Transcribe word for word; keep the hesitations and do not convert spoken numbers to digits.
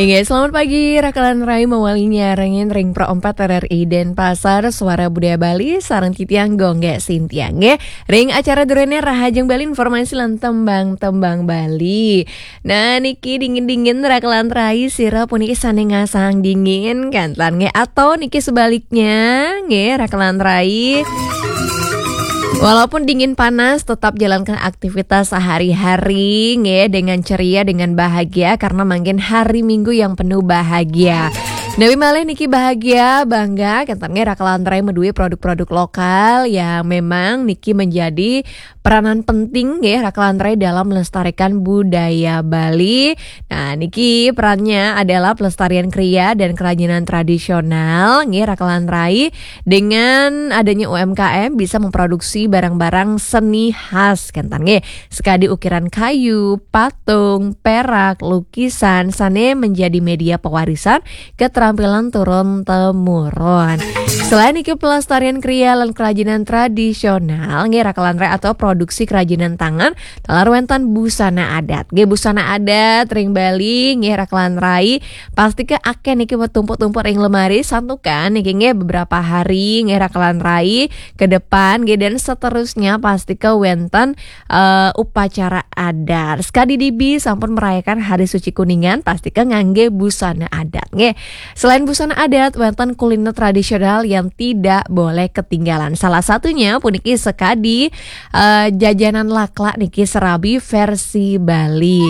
Inggih, selamat pagi, Rakalan Rai mawali nyarengin ring Pro empat R R I Denpasar, Suara Budaya Bali, sareng titiang Gung Sintia, nggih. Ring acara durene Rahajeng Bali, informasi lan tembang-tembang Bali. Nah, niki dingin-dingin Rakalan Rai, sira puniki sane ngasang dingin, kanten nggih. Atau niki sebaliknya, nggih, Rakalan Rai. Walaupun dingin panas, tetap jalankan aktivitas sehari-hari, nggih, dengan ceria, dengan bahagia, karena mangkin hari Minggu yang penuh bahagia. Nawi malih niki bahagia, bangga, kanten nggih, Rakalan Rai maduwe produk-produk lokal yang memang niki menjadi peranan penting, nggih, Rakalan Rai dalam melestarikan budaya Bali. Nah, niki perannya adalah pelestarian kriya dan kerajinan tradisional, nggih, Rakalan Rai. Dengan adanya U M K M bisa memproduksi barang-barang seni khas, kanten nggih. Sekadi ukiran kayu, patung, perak, lukisan, sane menjadi media pewarisan keterampilan turun temurun. Selain niki pelestarian kriya lan kerajinan tradisional, nggih, Rakalan Rai atau produksi kerajinan tangan, taler wenten busana adat. Nggih, busana adat ring Bali, nggih, Rakalan Rai, pasti ke akeh niki tumpuk-tumpuk ring lemari, santukan niki nggih beberapa hari, nggih, Rakalan Rai ke depan, nggih, dan seterusnya pasti ke wenten eh, upacara adat. Sekadi dibi sampun merayakan Hari Suci Kuningan, pasti ke ngangge busana adat, nggih. Selain busana adat, wenten kuliner tradisional yang tidak boleh ketinggalan. Salah satunya puniki sekadi eh, jajanan laklak niki, serabi versi Bali.